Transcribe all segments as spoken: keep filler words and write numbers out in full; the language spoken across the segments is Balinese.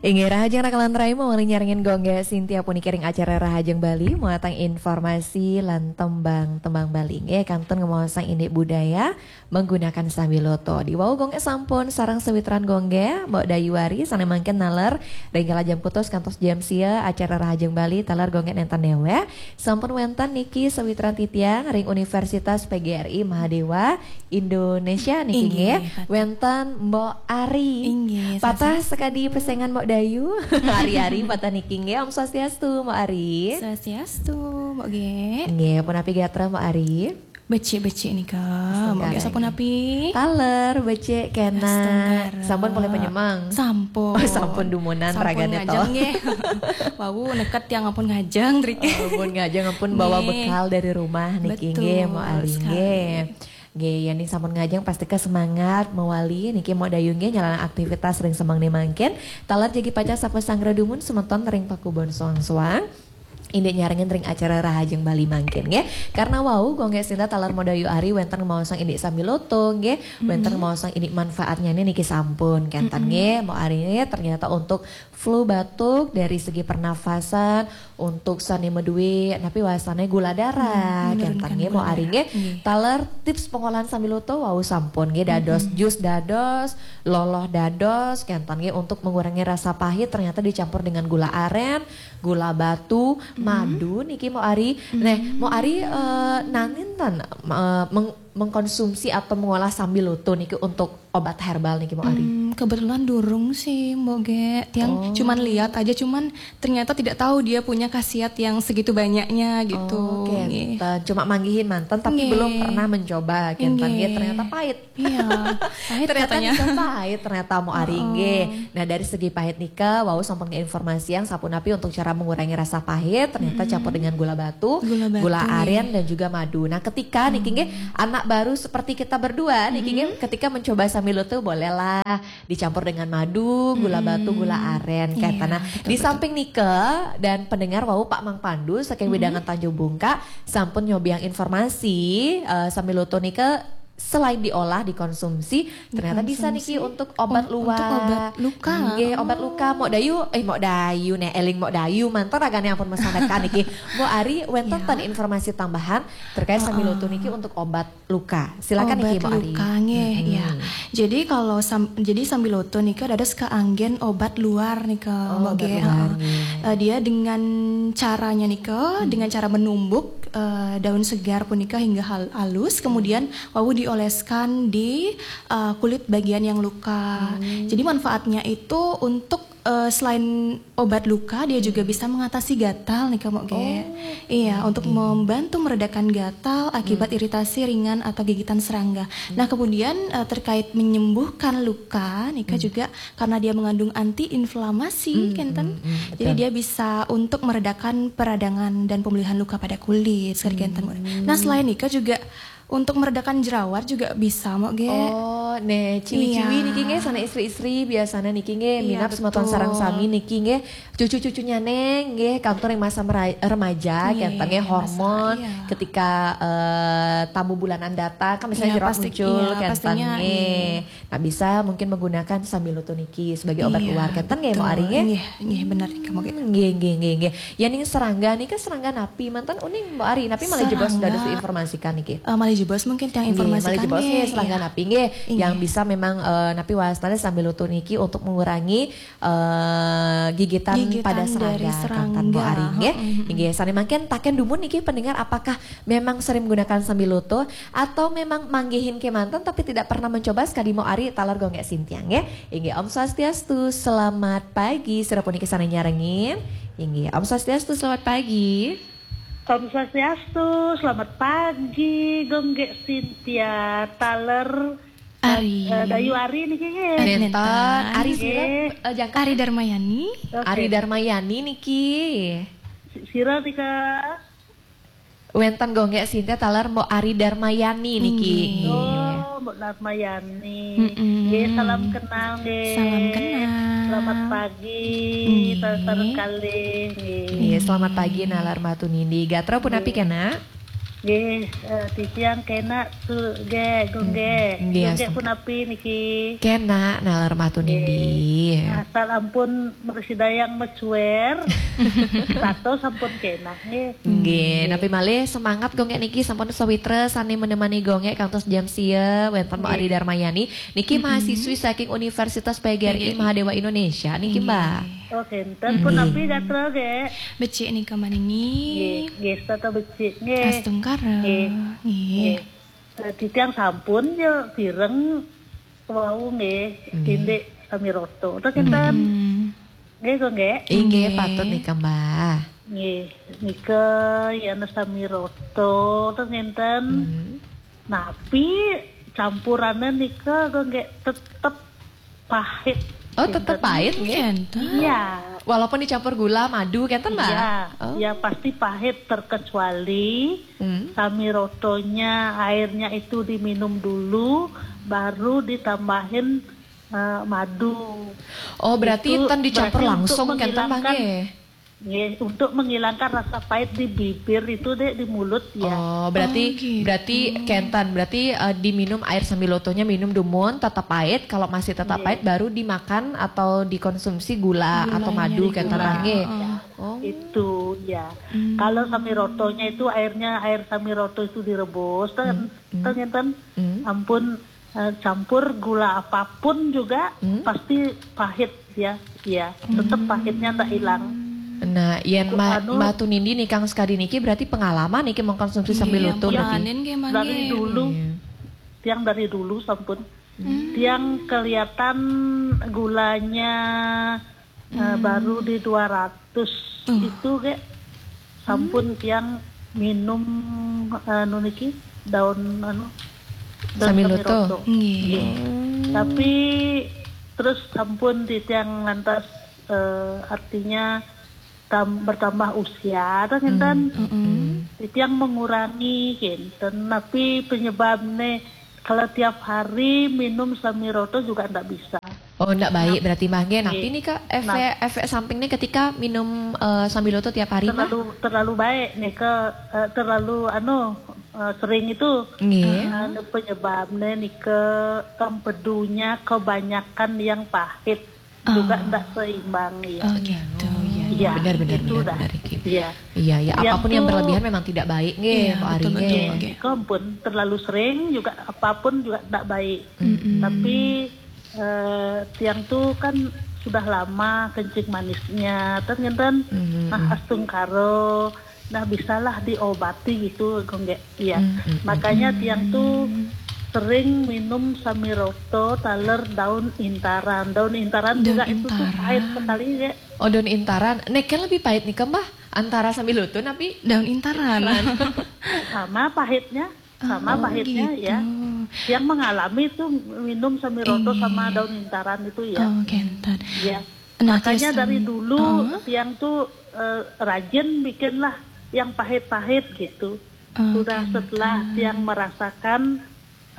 Inggih, rahajeng raka lan rai, mawali nyarengin Gung Gek Sintia puniki ring acara Rahajeng Bali, muatang informasi lan tembang-tembang Bali. Inggih, kantun ngemaosang indik budaya menggunakan sambiloto. Diwau Gung Gek sampun sareng sawitran Gung Gek, Mbok Dayu Ari, sane mangkin naler ring kala jam kutus kantos jam sia acara Rahajeng Bali, taler Gung Gek nenten newek. Sampun wenten niki sawitran titiang ring Universitas P G R I Mahadewa Indonesia niki. Inggih, nggih. Patut. Wenten Mbok Ari. Inggih, patah swastiastu. Sekadi pesengan Mbok Dayu. Ari-ari patah niki nggih. Om Swastiastu, Mbok Ari. Swastiastu, Mbok Gek. Nggih, punapi gatra Mbok Ari? Becik-becik nika. Mbok Gek sampun api? Taler, becik kena. Astungkara. Sampun polih penyemang? Sampun. Oh, sampun dumunan. Sampun ragane to. Ngajeng nggih. Wau neket tiang ampun ngajeng, Trik. Ampun ngajeng, ampun bawa bekal dari rumah niki nggih, Mbok Ari nggih. Betul sekali. Nggih, yen ning sampun ngajeng pasti ke semangat mawali niki Mbok Dayu nggih nyalana aktivitas ring semeng ni mangkin. Taler jagi pacang sapa sanggra dumun semeton ring pakubon soang-soang. Indik nyarengin ring acara Rahajeng Bali mangkin nggih. Karena wau Gung Gek Sintia taler Mbok Dayu Ari wenten ngemaosang indik sambiloto nggih, wenten ngemaosang indik manfaatnya niki sampun kenten nggih. Mbok Ari nggih, ternyata untuk flu batuk dari segi pernafasan, untuk sane madue napi wasane gula darah, hmm, kenten nggih, Mbok Ari nggih. Nggih. Taler tips pengolahan sambiloto wau sampun nggih, dados jus dados, loloh dados, kenten nggih, untuk mengurangi rasa pahit ternyata dicampur dengan gula aren, gula batu, madu niki Mbok Ari. Nah, Mbok Ari, eh, nanin ten, eh, meng-, mengkonsumsi atau mengolah sambiloto niki untuk obat herbal niki, Mbok Ari? Hmm, kebetulan durung sih, Mbok Gek. Tiang cuman lihat aja, cuman ternyata tidak tahu dia punya khasiat yang segitu banyaknya gitu. Oh, nggih. Kenten. Cuma manggihin manten, tapi belum pernah mencoba. Nggih. Kenten nggih, ternyata pahit. Iya, pahit ternyata katanya. Nika pahit, ternyata Mbok Ari nggih. Nah, dari segi pahit nika, wau sampun informasi yang sapunapi untuk cara mengurangi rasa pahit, ternyata campur dengan gula batu, gula aren, dan juga madu. Nah, ketika niki nggih, anak baru seperti kita berdua niki nggih, ketika mencoba sambiloto bolehlah dicampur dengan madu, gula batu, gula aren, kenten. Iya, betul, betul. Nah, di samping nika dan pendengar wau Pak Mang Pandu saking Wedangan Tanjung Bungka sampun nyobiang informasi, eh, sambiloto nika selain diolah, dikonsumsi, ternyata bisa niki untuk obat luka. Untuk obat luka. Nggih, obat luka. Mbok Dayu, eh, Mbok Dayu nih, eling Mbok Dayu, manten ragane ampun masanekan niki. Mbok Ari, wenten ten informasi tambahan terkait sambiloto niki untuk obat luka. Silakan niki, Mbok Ari. Obat luka nggih, ya. Jadi kalau sam-, jadi sambiloto nika dados kaanggen obat luar nika, Mbok Gek. Oh, obat luar nggih. Eh, dia dengan caranya nika, dengan cara menumbuk, eh, daun segar punika hingga hal-, halus, kemudian wau dioleskan di, eh, kulit bagian yang luka. Jadi manfaatnya itu untuk, eh, selain obat luka, dia juga bisa mengatasi gatal nih, Mbok Gek. Oh. Iya, untuk membantu meredakan gatal akibat iritasi ringan atau gigitan serangga. Nah, kemudian, eh, terkait menyembuhkan luka, nika juga karena dia mengandung antiinflamasi, kenten. Jadi dia bisa untuk meredakan peradangan dan pemulihan luka pada kulit, sekali kenten. Nah, selain nika juga untuk meredakan jerawat juga bisa, Mbok Gek. Oh, nih, ciwi-ciwi niki nggih, sana istri-istri biasanya niki nggih, minab semeton sareng sami niki nggih, cucu-cucunya neng nggih, kantun yang masa mera-, remaja, kenten nggih, hormon, ketika, eh, tamu bulanan datang, kan misalnya jerawat muncul, kenten nggih. Nah, bisa mungkin menggunakan sambiloto niki sebagai obat luar, kenten nggih, Mbok Ari nggih? Nggih, nggih, bener nih, Mbok Gek. Hmm, nggih, nggih, nggih, nggih. Ya, ning serangga nika serangga napi manten uning, Mbok Ari? Napi malih jebos dados diinformasikan niki? Eh, malih jebos mungkin yang informasikan nggih, serangga napi nggih yang bisa memang, eh, napi wastane sambiloto niki untuk mengurangi, eh, gigitan pada serangga, kenten Mbok Ari nggih. Nggih, sane mangkin taken dumun niki pendengar, apakah memang sering menggunakan sambiloto atau memang manggihin kemanten tapi tidak pernah mencoba, sekadi Mbok Ari taler Gung Gek Sintia nggih. Inggih, Om Swastiastu, selamat pagi. Sira puniki sane nyarengin. Inggih, Om Swastiastu, selamat pagi. Om Swastiastu, selamat pagi, Gung Gek Sintia, taler, eh, Dayu Ari niki nggih. Nenten. Ari sira, eh, jangkep? Ari Darmayani. Oke. Ari Darmayani niki. Si-, sira nika. Wenten Gung Gek Sintia taler Mbok Ari Darmayani niki. Inggih. Oh, Mbok Darmayani. Nggih, salam kenal nggih. Salam kenal. Selamat pagi, taler kalih nggih. Nggih, selamat pagi nalar matur nindi. Gatra punapi kena? Nggih, eh, titiang kena tu ge, Gung ge. Nggih, Gung ge astungkara. Punapi niki? Kena, nalar matur nggih. Nindi. Asal ampun mrasidayang mecuer, sato sampun kena nggih. Nggih, nggih. Napi malih semangat Gung ge niki sampun sawitra sane menemani Gung ge kantos jam sia wenten Mbok nggih. Ari Darmayani. Niki mm-mm. Mahasiswi saking Universitas P G R I P G R I. Mahadewa Indonesia niki, nggih. Mbak. Oh, kenten. Mm-mm. Punapi gatra ge? Becik nika maningi. Nggih, nggih, setata becik nggih. Astungkara. Nggih. Nggih. Nggih. Eh, titiang sampun ya pireng wau nggih, nggih. Indik sami rata. Terus kenten. Mm-mm. Nggih, kok nggih? Inggih, nggih. Patut nika, Mbak. Nggih, nika ya sami rata, terus kenten. Mm. Napi campurane nika kok nggih tetep pahit. Oh, tetep pahit nggih? Kenten. Iya. Walaupun dicampur gula, madu, kenten, Mbak? Iya, oh. Ya pasti pahit terkecuali hmm. Sami rotonya airnya itu diminum dulu, baru ditambahin eh, madu. Oh, berarti itu ten dicampur berarti langsung, kenten, Mbak, nggih? Nggih, untuk menghilangkan rasa pahit di bibir itu, Dek, di mulut, ya. Oh, berarti, oh, gitu. Berarti kenten, berarti, eh, diminum air sambilotonya minum dumun, tetap pahit. Kalau masih tetap nggih. Pahit, baru dimakan atau dikonsumsi gula atau gulanya madu, kenten, digula. Mbak, nggih? Oh. Oh. Itu, ya. Hmm. Kalau samirotonya itu airnya, air samiroto itu direbus, ten, hmm. Ten, ngenten. Hmm. Ampun, eh, campur gula apapun juga hmm. Pasti pahit ya. Ya, tetap hmm. Pahitnya ndak hilang. Nah, yen ma-, anu, Mbak Tunindi nih, Kang Skadi niki berarti pengalaman niki mengkonsumsi sambil iya, utuh berarti. Pengalaman nggih, Mang, dari nggih. Dulu. Iya. Tiang dari dulu sampun. Hmm. Tiang kelihatan gulanya, eh, hmm. Baru di dua ratus. Tuh. Itu ge sampun hmm. Tiang minum, anu niki, daun anu, daun samiloto. Samiloto. Nggih. Nggih. Hmm. Tapi terus sampun di tiang ngantos, eh, artinya tam-, bertambah usia, ta, ngenten. Hmm. Mm-mm. Di tiang mengurangi, ngenten. Tapi penyebabnya kalau tiap hari minum samiroto juga ndak bisa. Oh, ndak baik berarti, Mbak, nggih. Napi nih, Kak, efek, nah, efek sampingnya ketika minum, eh, sambiloto tiap hari, Mbak? Terlalu, terlalu baik nih, ke, eh, terlalu, anu, eh, sering itu. Nggih. Eh, anu, penyebabnya nih ke empedunya kebanyakan yang pahit. Juga oh. Ndak seimbang, ya. Oh, gitu, ya, ya. Iya, benar, benar, itu benar, dah. Benar, Ki. Iya. Iya, ya, yang apapun yang tuh berlebihan memang tidak baik, nggih, iya, Pak Ari, betul, nggih. Betul, nggih. Kompun, terlalu sering juga, apapun juga ndak baik. Mm-mm. Tapi eh, tiang tuh kan sudah lama kencing manisnya, ten ngenten. Hmm. Nah, astungkara, nah, bisalah diobati gitu, Gung, nggih. Iya. Hmm, hmm, hmm. Makanya tiang tuh sering minum samiroto taler daun intaran. Daun intaran juga itu tuh pahit sekali, nggih. Oh, daun intaran. Nek lebih pahit nih, Mbak? Antara sambiloto napi? Daun intaran. Sama pahitnya. Sama pahitnya, oh, gitu. Ya. Yang mengalami itu minum samiroto sama daun intaran itu, ya. Oh, kenten. Ya. Nah, makanya dari dulu tiang tuh, eh, rajin bikinlah yang pahit-pahit gitu. Oh, sudah kenten. Setelah tiang merasakan,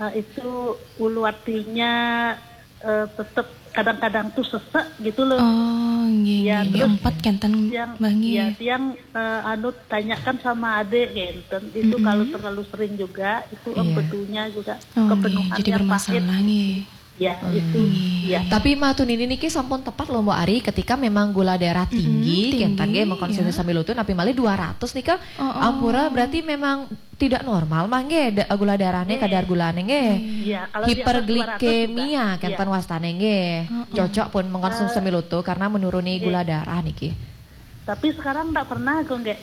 eh, itu ulu hatinya eh, tetep kadang-kadang tuh sesek gitu loh. Oh, nggih, ya, nggih, nggih. Terus empat kenten, yang, Mbak, nggih. Ya, yang, eh, anu, tanyakan sama adik, ngenten. Itu kalau terlalu sering juga, itu empedunya juga kepenuhannya pahit. Oh, nggih, jadi bermasalah, nggih. Ya, itu, nggih. Ya. Tapi Mbak Tunindi niki sampun tepat loh, Mbok Ari, ketika memang gula darah tinggi, tinggi, kenten nggih, mengkonsumsi sambiloto, napi malih dua ratus nika, oh, oh. Ampura, berarti memang tidak normal, Mbak, nggih, da-, gula darahnya, nggih. Kadar gulanya, nggih. Iya, kalau di atas dua ratus juga. Hiperglikemia, kenten wastane, nggih. Heeh. Cocok pun mengkonsumsi sambiloto karena menuruni gula darah niki. Tapi sekarang ndak pernah kok, nggih.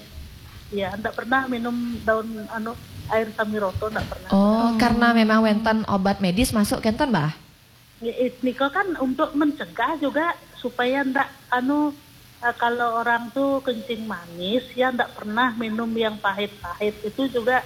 Ya, ndak pernah minum daun, anu, air samiroto, ndak pernah. Oh, karena memang wenten obat medis masuk, kenten, Mbak? Nggih, nika kan untuk mencegah juga supaya ndak, anu, eh, kalau orang tuh kencing manis, ya ndak pernah minum yang pahit-pahit. Itu juga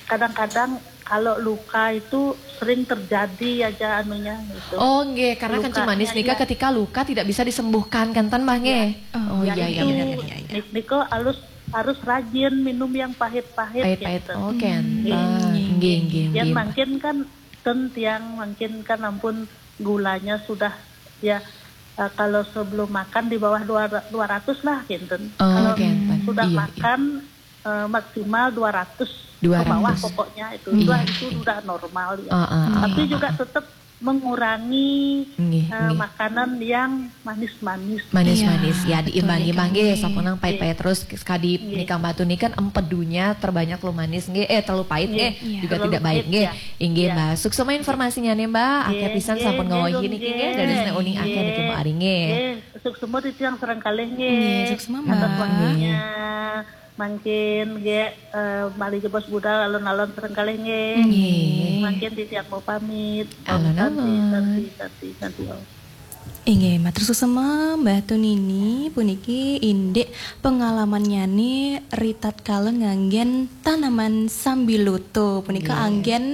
kadang-kadang kalau luka itu sering terjadi aja anunya gitu. Oh, nggih, karena kencing manis nika ketika luka tidak bisa disembuhkan, kenten, Mbak, nggih? Iya. Oh, iya, iya, benar, iya, iya. Nika harus, harus rajin minum yang pahit-pahit. Pahit-pahit, gitu. Oh, kenten. Nggih, nggih, nggih. Yang mungkin kan ten tiang mungkin kan ampun gulanya sudah, ya, eh, kalau sebelum makan di bawah dua, dua ratus lah, kenten. Oh, kalau sudah makan, eh, maksimal dua ratus Dua ratus. Ke bawah pokoknya itu. Sudah, itu sudah normal ya. Ah, ah, ah, Tapi ah, juga ah. tetap mengurangi Nggih, eh, nggih. Makanan yang manis-manis. Manis-manis Iya, ya, betul, diimbangi-imbangi nggih. Sampun nang pahit-pahit terus, kadi Nggih. Nikang Batu nih kan empedunya terbanyak lo manis nggih, eh terlalu pahit Nggih, nggih, iya. Juga Terlalu tidak baik pahit, nggih. Ya. Inggih Ya. Mbak. Suksma informasinya nih Mbak. Akeh Nggih, pisan nggih, sampun nggih, ngawahi nggih, niki nggih. Dari sini uning akeh niki Mbak Ari nggih. Nggih, suksma titiang sareng kalih nggih. Nggih, suksma, Atas Mbak. waktunya. Mangkin nggih eh, malih jebos budal alon-alon sareng kalih nggih. Nggih. Mangkin titiang mau pamit. Om Alon-alon. Santi, Santi, Santi, Santi, Om. Inggih, matur suksma Mbah Tunini. Puniki indik pengalamannya nih ritatkala nganggen tanaman sambiloto. Punika Nggih. Anggen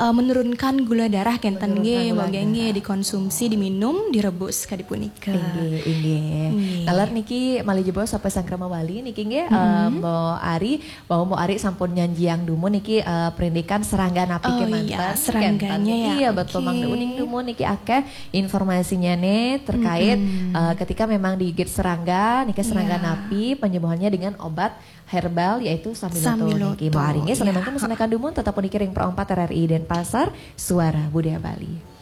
eh, menurunkan gula darah kenten Menurunkan nggih, gula mangga nggih darah. Dikonsumsi, diminum, direbus kadi punika. Inggih, inggih. Nggih. Taler niki malih jebos sampai sangkrama wali niki nggih, eh, Mbok Ari, bahwa Mbok Ari sampun nyanjiang dumun niki eh, perindikan serangga napi Oh kemanten, iya, serangganya kenten. Ya, Iya, betul oke. Mangda uning dumun niki akeh informasinya nih terkait eh, ketika memang digigit serangga, niki serangga Iya. Napi penyembuhannya dengan obat herbal yaitu sambiloto Sambiloto, niki Mbok Ari nggih. Sané iya. Mangkin mesengakan dumun tetap puniki ring Pro empat R R I Denpasar, Suara Budaya Bali.